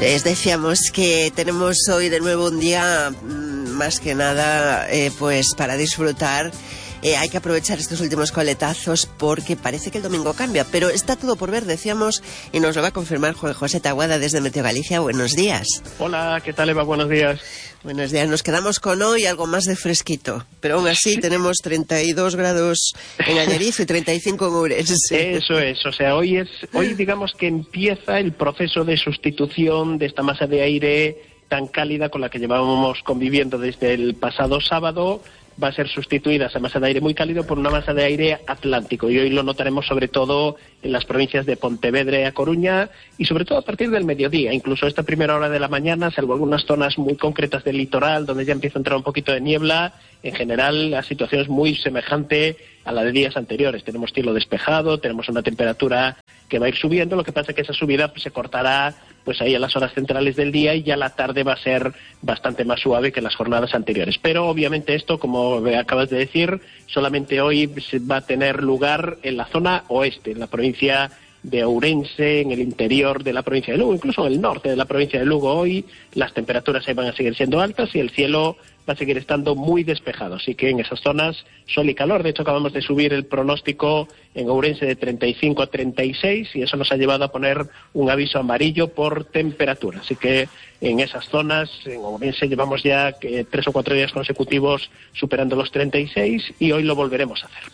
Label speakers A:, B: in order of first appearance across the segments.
A: Les decíamos que tenemos hoy de nuevo un día más que nada pues para disfrutar. Hay que aprovechar estos últimos coletazos porque parece que el domingo cambia, pero está todo por ver, decíamos, y nos lo va a confirmar Juan José Taboada desde Meteo Galicia. Buenos días.
B: Hola, ¿qué tal, Eva? Buenos días.
A: Buenos días. Nos quedamos con hoy algo más de fresquito, pero aún así tenemos 32 grados en Allariz y 35 en Ourense.
B: Eso es, o sea, hoy digamos que empieza el proceso de sustitución de esta masa de aire tan cálida con la que llevábamos conviviendo desde el pasado sábado. Va a ser sustituida esa masa de aire muy cálido por una masa de aire atlántico, y hoy lo notaremos sobre todo en las provincias de Pontevedra y A Coruña, y sobre todo a partir del mediodía, incluso esta primera hora de la mañana, salvo algunas zonas muy concretas del litoral donde ya empieza a entrar un poquito de niebla. En general la situación es muy semejante a la de días anteriores. Tenemos cielo despejado, tenemos una temperatura que va a ir subiendo, lo que pasa es que esa subida se cortará pues ahí a las horas centrales del día, y ya la tarde va a ser bastante más suave que las jornadas anteriores. Pero obviamente esto, como acabas de decir, solamente hoy va a tener lugar en la zona oeste, en la provincia de Ourense, en el interior de la provincia de Lugo, incluso en el norte de la provincia de Lugo. Hoy las temperaturas ahí van a seguir siendo altas y el cielo va a seguir estando muy despejado, así que en esas zonas sol y calor. De hecho, acabamos de subir el pronóstico en Ourense de 35 a 36 y eso nos ha llevado a poner un aviso amarillo por temperatura, así que en esas zonas, en Ourense, llevamos ya 3 o 4 días consecutivos superando los 36 y hoy lo volveremos a hacer.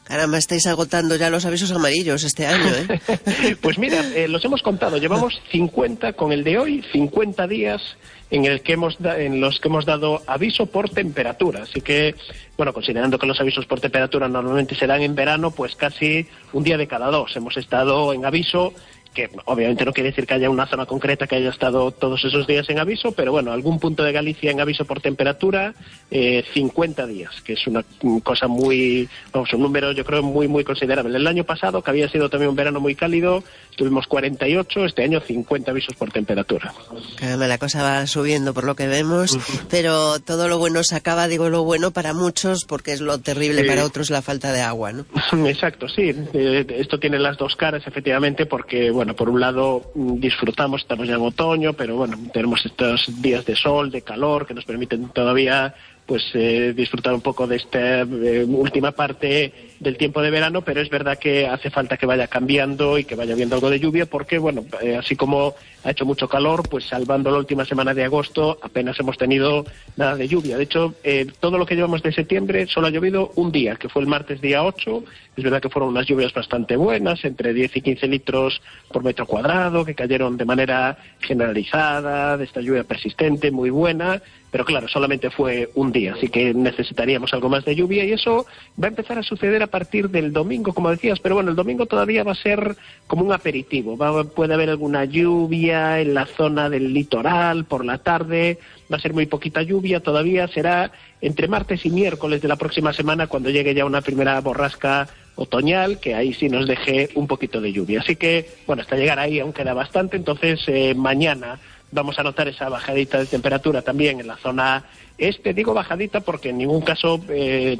A: Caramba, estáis agotando ya los avisos amarillos este año, ¿eh?
B: Pues mira, los hemos contado, llevamos 50 con el de hoy, 50 días en los que hemos dado aviso por temperatura. Así que, bueno, considerando que los avisos por temperatura normalmente se dan en verano, pues casi un día de cada 2 hemos estado en aviso, que obviamente no quiere decir que haya una zona concreta que haya estado todos esos días en aviso, pero bueno, algún punto de Galicia en aviso por temperatura, 50 días, que es una cosa muy, vamos, un número yo creo muy considerable. El año pasado, que había sido también un verano muy cálido, tuvimos 48, este año 50 avisos por temperatura.
A: Caramba, la cosa va subiendo por lo que vemos, pero todo lo bueno se acaba, digo lo bueno para muchos, porque es lo terrible para otros la falta de agua, ¿no?
B: Exacto, sí, esto tiene las dos caras, efectivamente, porque, bueno, por un lado disfrutamos, estamos ya en otoño, pero bueno, tenemos estos días de sol, de calor, que nos permiten todavía pues disfrutar un poco de esta última parte del tiempo de verano, pero es verdad que hace falta que vaya cambiando y que vaya habiendo algo de lluvia, porque bueno, así como ha hecho mucho calor, pues salvando la última semana de agosto apenas hemos tenido nada de lluvia. De hecho, todo lo que llevamos de septiembre solo ha llovido un día, que fue el martes día 8, es verdad que fueron unas lluvias bastante buenas, entre 10 y 15 litros por metro cuadrado, que cayeron de manera generalizada, de esta lluvia persistente, muy buena, pero claro, solamente fue un día, así que necesitaríamos algo más de lluvia, y eso va a empezar a suceder a partir del domingo, como decías, pero bueno, el domingo todavía va a ser como un aperitivo, puede haber alguna lluvia en la zona del litoral por la tarde, va a ser muy poquita lluvia, todavía será entre martes y miércoles de la próxima semana cuando llegue ya una primera borrasca otoñal, que ahí sí nos deje un poquito de lluvia. Así que, bueno, hasta llegar ahí aún queda bastante, entonces mañana vamos a notar esa bajadita de temperatura también en la zona este. Digo bajadita porque en ningún caso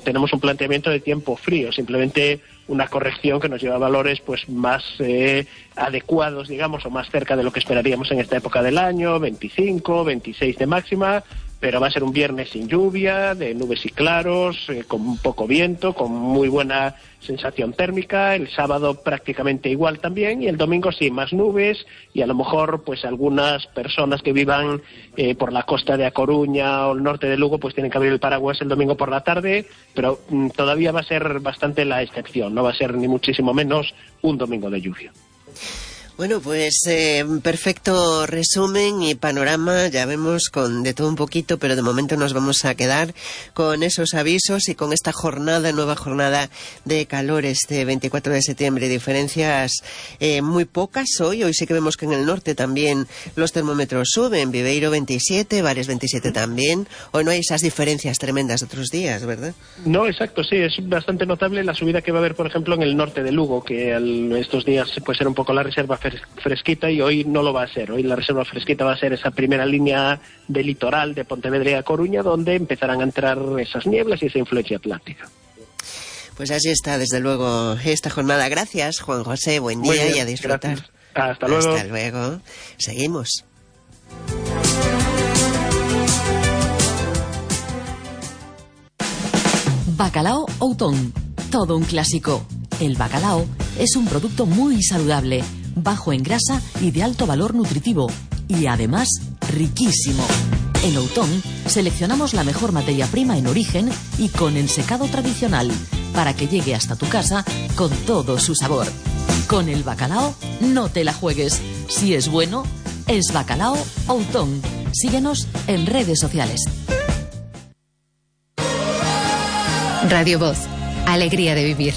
B: tenemos un planteamiento de tiempo frío, simplemente una corrección que nos lleva a valores pues más adecuados, digamos, o más cerca de lo que esperaríamos en esta época del año, 25, 26 de máxima, pero va a ser un viernes sin lluvia, de nubes y claros, con poco viento, con muy buena sensación térmica. El sábado prácticamente igual también, y el domingo sí, más nubes, y a lo mejor pues algunas personas que vivan por la costa de A Coruña o el norte de Lugo pues tienen que abrir el paraguas el domingo por la tarde, pero todavía va a ser bastante la excepción, no va a ser ni muchísimo menos un domingo de lluvia.
A: Bueno, pues perfecto resumen y panorama, ya vemos con de todo un poquito, pero de momento nos vamos a quedar con esos avisos y con esta nueva jornada de calor este 24 de septiembre. Diferencias muy pocas hoy sí que vemos que en el norte también los termómetros suben, Viveiro 27, Bares 27 también. Hoy no hay esas diferencias tremendas de otros días, ¿verdad?
B: No, exacto, sí, es bastante notable la subida que va a haber, por ejemplo, en el norte de Lugo, que estos días puede ser un poco la reserva fresquita, y hoy no lo va a ser. Hoy la reserva fresquita va a ser esa primera línea de litoral de Pontevedra y A Coruña, donde empezarán a entrar esas nieblas y esa influencia atlántica.
A: Pues así está, desde luego, esta jornada. Gracias, Juan José, buen día y a disfrutar.
B: Gracias. Hasta luego.
A: Hasta luego. Seguimos.
C: Bacalao Outón, todo un clásico. El bacalao es un producto muy saludable, bajo en grasa y de alto valor nutritivo, y además riquísimo. En Outón seleccionamos la mejor materia prima en origen y con ensecado tradicional, para que llegue hasta tu casa con todo su sabor. Con el bacalao no te la juegues. Si es bueno, es Bacalao Outón. Síguenos en redes sociales.
D: Radio Voz, alegría de vivir.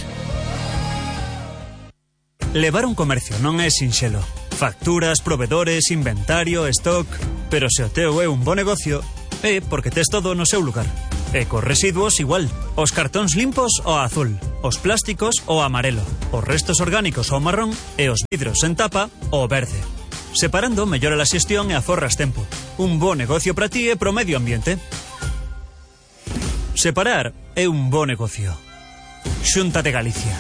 E: Levar un comercio non é sinxelo. Facturas, provedores, inventario, stock... Pero se o teu é un bo negocio, é porque tes todo no seu lugar. E cos residuos igual. Os cartóns limpos o azul, os plásticos o amarelo, os restos orgánicos o marrón e os vidros en tapa o verde. Separando mellora a xestión e aforras tempo. Un bo negocio para ti e pro medio ambiente. Separar é un bo negocio. Xunta de Galicia.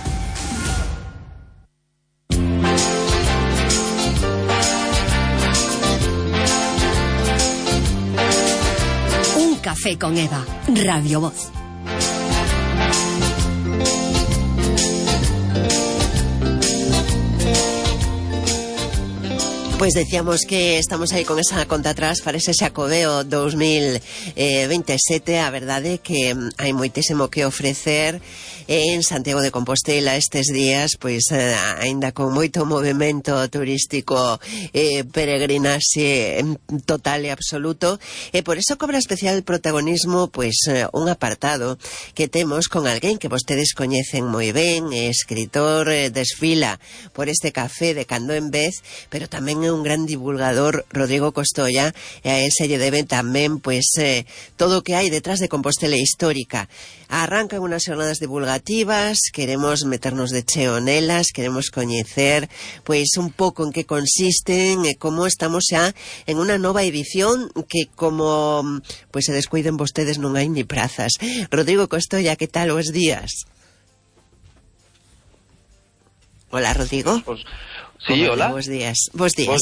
F: Un café con Eva, Radio Voz.
A: Pues decíamos que estamos aí con esa conta atrás para ese Xacobeo 2027. A verdade é que hai moitísimo que ofrecer en Santiago de Compostela estes días, pois aínda con moito movimento turístico, peregrinaxe total e absoluto, e por eso cobra especial protagonismo pois un apartado que temos con alguén que vostedes coñecen moi ben, escritor, desfila por este café de cando en vez, pero tamén é un gran divulgador, Rodrigo Costoia, e a él se lle debe tamén pois todo o que hai detrás de Compostela histórica. Arrancan unas xornadas divulgativas, queremos meternos de cheo nelas, queremos coñecer pois un pouco en que consisten e como estamos xa en unha nova edición que como pois se descuiden vostedes non hai ni prazas. Rodrigo Costoia, que tal os días? Hola, Rodrigo.
G: Sí, hola.
A: Bos días,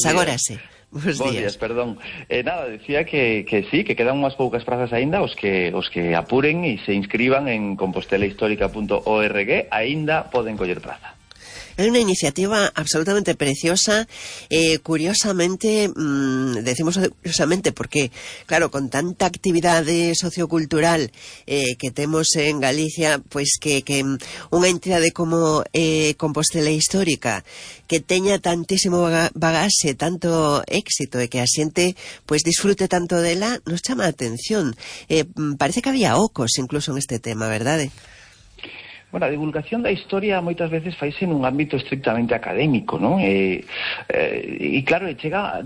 A: agora sí. Bos días,
G: perdón. Nada, decía que sí, que quedan unhas poucas prazas aínda, os que apuren e se inscriban en compostelahistórica.org, aínda poden coller praza.
A: É unha iniciativa absolutamente preciosa, curiosamente, decimos curiosamente porque, claro, con tanta actividade sociocultural que temos en Galicia, pois que unha entidade como Compostela Histórica, que teña tantísimo bagaxe, tanto éxito e que a xente pois disfrute tanto dela, nos chama a atención. Parece que había ocos incluso en este tema, verdade?
G: Bueno, a divulgación da historia moitas veces faise nun ámbito estrictamente académico, non? E claro,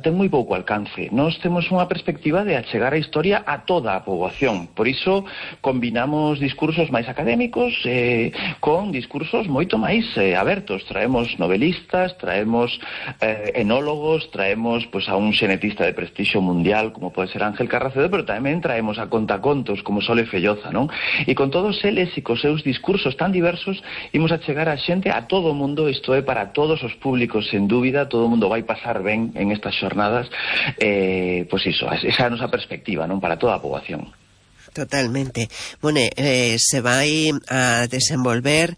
G: ten moi pouco alcance. Nós temos unha perspectiva de achegar a historia a toda a poboación. Por iso combinamos discursos máis académicos con discursos moito máis abertos. Traemos novelistas, traemos enólogos, traemos pois a un xenetista de prestixio mundial como pode ser Ángel Carracedo, pero tamén traemos a contacontos como Sole Felloza, non? E con todos eles e cos seus discursos tan diversos, imos a chegar a xente, a todo o mundo, isto é para todos os públicos, sen dúbida, todo o mundo vai pasar ben en estas xornadas, pois iso, esa é a nosa perspectiva, non, para toda a poboación.
A: Totalmente. Bueno, se vai a desenvolver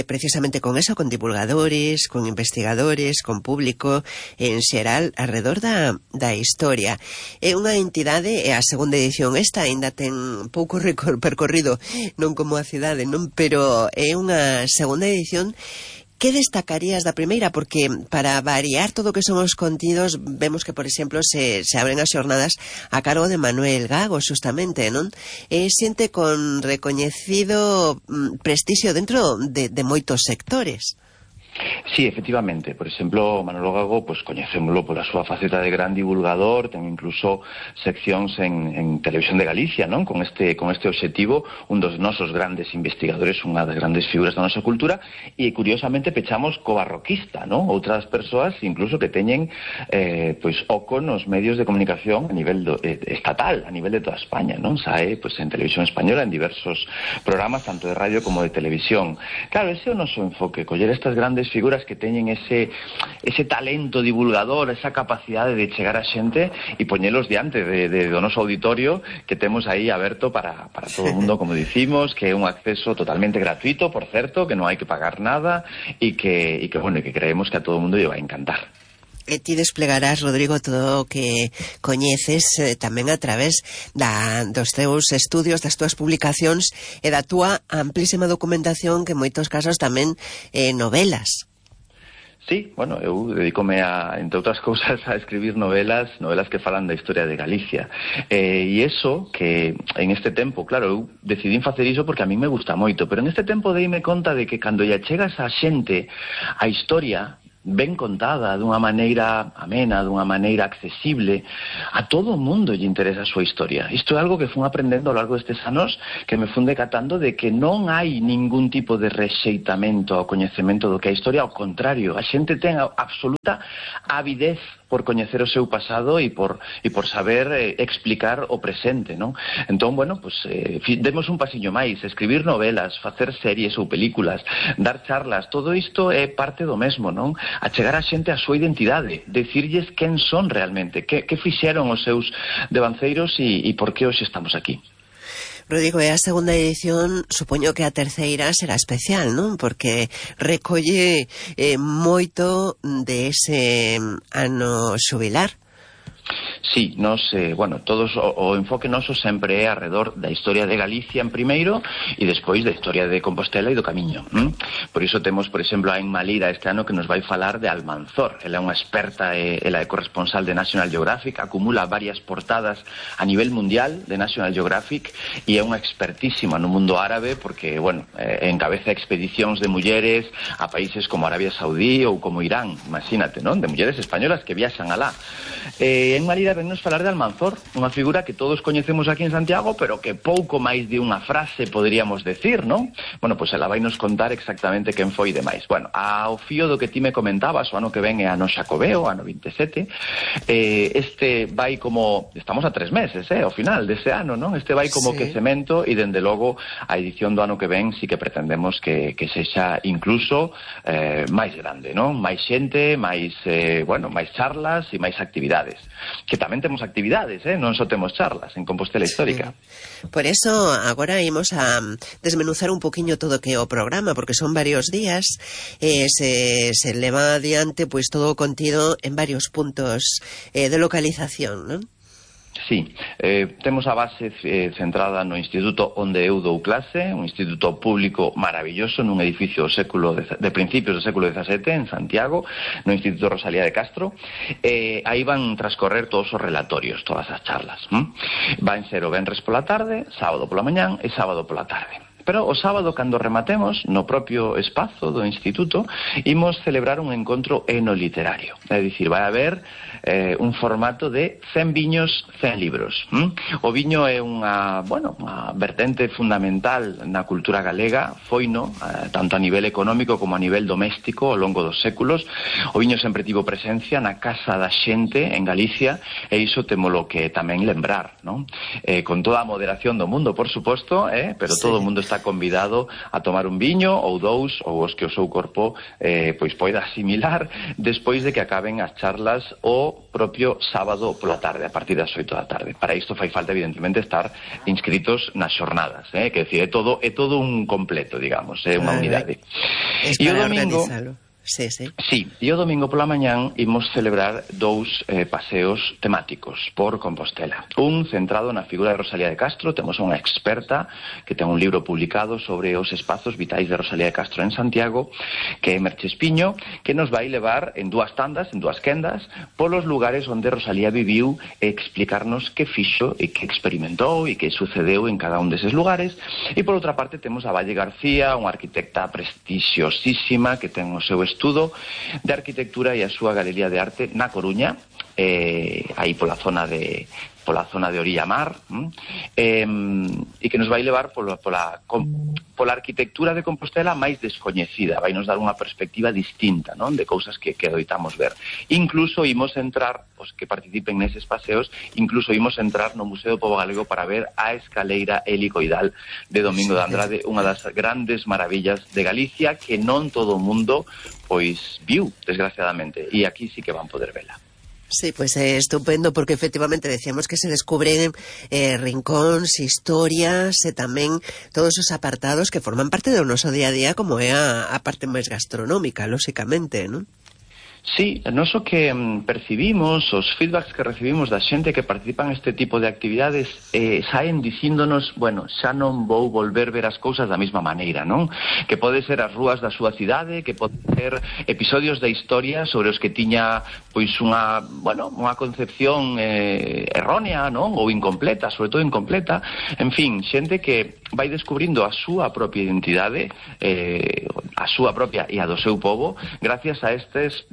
A: precisamente con eso, con divulgadores, con investigadores, con público en xeral alrededor da historia. É unha entidade, a segunda edición esta, aínda ten pouco percorrido, non como a cidade, non, pero é unha segunda edición. Que destacarías da primeira? Porque para variar todo o que son os contidos, vemos que, por exemplo, se abren as xornadas a cargo de Manuel Gago, justamente, non? Xente con recoñecido prestixio dentro de moitos sectores.
G: Sí, efectivamente. Por exemplo, Manolo Gago, pues coñecémolo pola súa faceta de gran divulgador, ten incluso seccións en Televisión de Galicia, non? Con este obxectivo, un dos nosos grandes investigadores, unha das grandes figuras da nosa cultura, e curiosamente pechamos co barroquista, non? Outras persoas incluso que teñen pois oco nos medios de comunicación a nivel estatal, a nivel de toda España, non? Sae pois en Televisión Española en diversos programas, tanto de radio como de televisión. Claro, ese é o noso enfoque, coller estas grandes figuras figuras que teñen ese talento divulgador, esa capacidade de chegar a xente e poñelos diante do noso auditorio que temos aí aberto para todo o mundo, como dicimos, que é un acceso totalmente gratuito, por certo, que non hai que pagar nada e que creemos que a todo o mundo lle vai encantar.
A: E ti desplegarás, Rodrigo, todo o que coñeces tamén a través dos teus estudios, das túas publicacións e da túa amplísima documentación, que en moitos casos tamén novelas.
G: Sí, bueno, eu dedícome entre outras cousas, a escribir novelas que falan da historia de Galicia. E iso que en este tempo, claro, eu decidín facer iso porque a mí me gusta moito, pero en este tempo deime conta de que cando lle chegas a xente a historia ben contada, dunha maneira amena, dunha maneira accesible, a todo o mundo lle interesa a súa historia. Isto é algo que fun aprendendo ao largo destes anos, que me fun decatando de que non hai ningún tipo de rexeitamento ao coñecemento do que é a historia, ao contrario, a xente ten absoluta avidez por coñecer o seu pasado e por saber explicar o presente, non? Entón, bueno, pues demos un pasiño máis, escribir novelas, facer series ou películas, dar charlas, todo isto é parte do mesmo, non? Achegar a xente a súa identidade, decirlles quen son realmente, que fixeron os seus devanceiros e por que hoxe estamos aquí.
A: Rodrigo, e a segunda edición, supoño que a terceira será especial, non? Porque recolle moito de ese ano xubilar.
G: Sí, todos o enfoque noso sempre é arredor da historia de Galicia en primeiro e despois da historia de Compostela e do Camiño. Por iso temos, por exemplo, a Emma Lira este ano que nos vai falar de Almanzor. Ela é unha experta, ela é corresponsal de National Geographic, acumula varias portadas a nivel mundial de National Geographic e é unha expertísima no mundo árabe porque, encabeza expedicións de mulleres a países como Arabia Saudí ou como Irán, imagínate, non? De mulleres españolas que viaxan alá. Emma Lira vennos falar de Almanzor, unha figura que todos coñecemos aquí en Santiago, pero que pouco máis de unha frase poderíamos decir, non? Bueno, pois ela vai nos contar exactamente quen foi demais. Bueno, ao fío do que ti me comentabas, o ano que ven é ano Xacobeo, ano 27, este vai como... Estamos a 3 meses, ao final dese ano, non? Este vai como quecemento e, dende logo, a edición do ano que ven sí que pretendemos que sexa incluso máis grande, non? Máis xente, máis charlas e máis actividades. Que tamén temos actividades, non só temos charlas en Compostela Histórica.
A: Por eso agora imos a desmenuzar un poquinho todo que é o programa, porque son varios días, se leva adiante pois todo o contido en varios puntos de localización, non?
G: Sí, temos a base centrada no instituto onde eu dou clase, un instituto público maravilloso nun edificio de principios do século XVII en Santiago, no Instituto Rosalía de Castro. Aí van transcorrer todos os relatorios, todas as charlas. Van ser o venres pola tarde, sábado pola mañán e sábado pola tarde. Pero o sábado, cando rematemos, no propio espazo do instituto, imos celebrar un encontro enoliterario. É dicir, vai haber un formato de 100 viños, 100 libros. O viño é unha vertente fundamental na cultura galega, foino, tanto a nivel económico como a nivel doméstico ao longo dos séculos. O viño sempre tivo presencia na casa da xente en Galicia, e iso témolo que tamén lembrar, non? Con toda a moderación do mundo, por suposto, pero todo o mundo está convidado a tomar un viño ou dous, ou os que o seu corpo pois poida asimilar despois de que acaben as charlas o propio sábado pola tarde, a partir das 8 da tarde. Para isto fai falta, evidentemente, estar inscritos nas xornadas, que decir, é todo un completo, digamos, é unha unidade.
A: E o domingo... Sí,
G: e o domingo pola mañán imos celebrar 2 paseos temáticos por Compostela. Un centrado na figura de Rosalía de Castro. Temos unha experta que ten un libro publicado sobre os espazos vitais de Rosalía de Castro en Santiago, que é Merche Espiño, que nos vai levar en 2 tandas, en 2 quendas, polos lugares onde Rosalía viviu e explicarnos que fixo e que experimentou e que sucedeu en cada un deses lugares. E por outra parte temos a Valle García, unha arquitecta prestixiosísima que ten o seu estudo de arquitectura e a súa galería de arte na Coruña, aí pola zona de Orilla Mar, e que nos vai levar pola arquitectura de Compostela máis descoñecida, vai nos dar unha perspectiva distinta, non, de cousas que adoitamos ver. Incluso imos entrar, os que participen neses paseos, incluso imos entrar no Museo do Pobo Galego para ver a escaleira helicoidal de Domingo de Andrade, unha das grandes maravillas de Galicia que non todo o mundo pois viu, desgraciadamente, e aquí sí que van poder vela.
A: Sí, pues estupendo, porque efectivamente decíamos que se descubren rincóns, historias e tamén todos os apartados que forman parte do noso día a día, como é a parte máis gastronómica, lóxicamente, non?
G: Sí, nós o que percibimos, os feedbacks que recibimos da xente que participan neste tipo de actividades saen dicíndonos, bueno, xa non vou volver ver as cousas da mesma maneira, non? Que pode ser as rúas da súa cidade, que pode ser episodios da historia sobre os que tiña pois unha concepción errónea, non? Ou incompleta, sobre todo incompleta. En fin, xente que vai descubrindo a súa propia identidade, a súa propia e a do seu povo, gracias a estas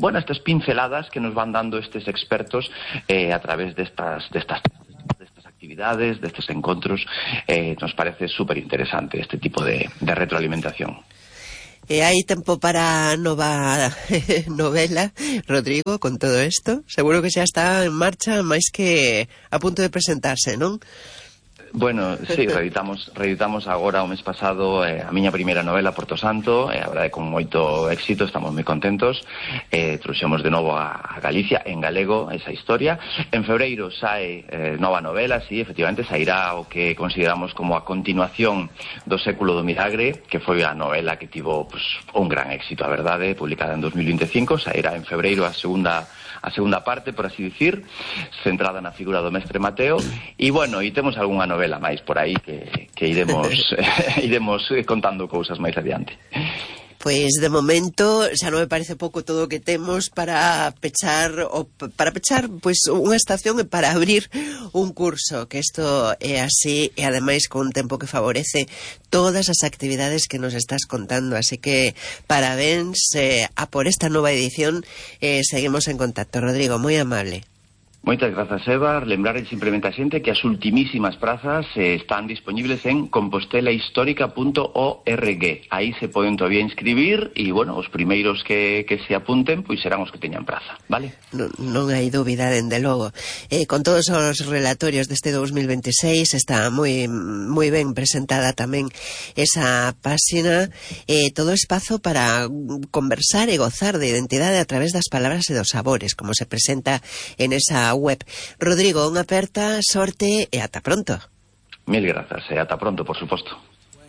G: pinceladas que nos van dando estes expertos a través destas actividades, destes encontros. Nos parece super interesante este tipo de retroalimentación.
A: E hai tempo para nova novela, Rodrigo, con todo isto? Seguro que xa está en marcha, máis que a punto de presentarse, non?
G: Bueno, sí, reeditamos agora o mes pasado a miña primeira novela, Porto Santo, a verdade con moito éxito, estamos moi contentos. Trouxemos de novo a Galicia en galego esa historia. En febreiro sae nova novela, sí, efectivamente sairá o que consideramos como a continuación do Século do Milagre, que foi a novela que tivo pues, un gran éxito, a verdade, publicada en 2025. Sairá en febreiro a segunda parte, por así dicir, centrada na figura do mestre Mateo. E bueno, e temos algunha novela máis por aí que iremos contando cousas máis adiante.
A: Pois de momento xa non me parece pouco todo o que temos para pechar pois unha estación e para abrir un curso, que isto é así e ademais con un tempo que favorece todas as actividades que nos estás contando, así que parabéns a por esta nova edición. Seguimos en contacto, Rodrigo, moi amable.
G: Moitas grazas, Eva. Lembrar simplemente a xente que as ultimísimas prazas están disponibles en compostelahistórica.org. Aí se poden todavía inscribir e, bueno, os primeiros que se apunten pois serán os que teñan praza, vale?
A: Non hai dúbida, dende logo. Con todos os relatorios deste 2026 está moi ben presentada tamén esa páxina, todo espazo para conversar e gozar de identidade a través das palabras e dos sabores, como se presenta en esa web. Rodrigo, unha aperta, sorte e ata pronto.
G: Mil grazas, e ata pronto, por suposto.